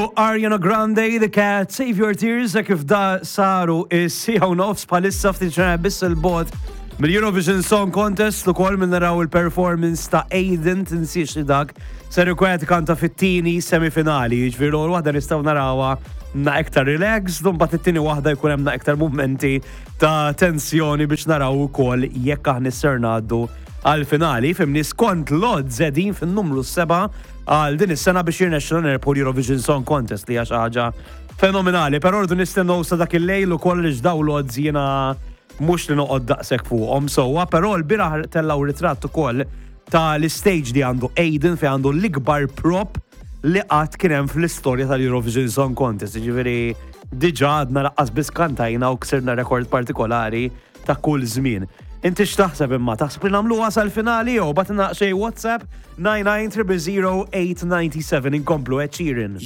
Kienu Ariana Grande, The Cat, Save Your Tears, e kif da saru is-sija u nofs bħalissa ftit ġranet biss il-bot mill-Eurovision Song Contest ukoll minn naraw il-performance ta' Aiden tinsiex li dak ser ikun qed ikanta fit-tieni semifinali, jiġifieri l-ewwel waħda nistgħu narawha na iktar relaxed, u mbagħad it-tieni waħda jkun hemm na iktar mumenti ta' tensjoni biex naraw ukoll jekk aħna ser ngħaddu għall-finali. Fimni skont l-odds qegħdin fin-numru 7 għal din is-sena biex jirnexxilna nirbħu l-Eurovision Song Contest li hija xi ħaġa fenomenali. Però rridu nistennew sa dak il-lejl ukoll li daw l-odds jiena mhux li noqgħod daqshekk fuqhom sewwa, però l-bieraħ tellgħu ritratt ukoll ta' l-istage li għandu Aiden fejn għandu l-ikbar prop li qatt kien hemm fl-istorja tal-Eurovision Song Contest. Jiġifieri diġà għadna laqqas biss kantajna u ksirna rekord partikolari ta' kull żmien. Inti x'taħseb imma? Taħseb li nagħmluha sal-finali jew bagħtilna xejn WhatsApp 99 000 897 inkomplu Ed Sheeran.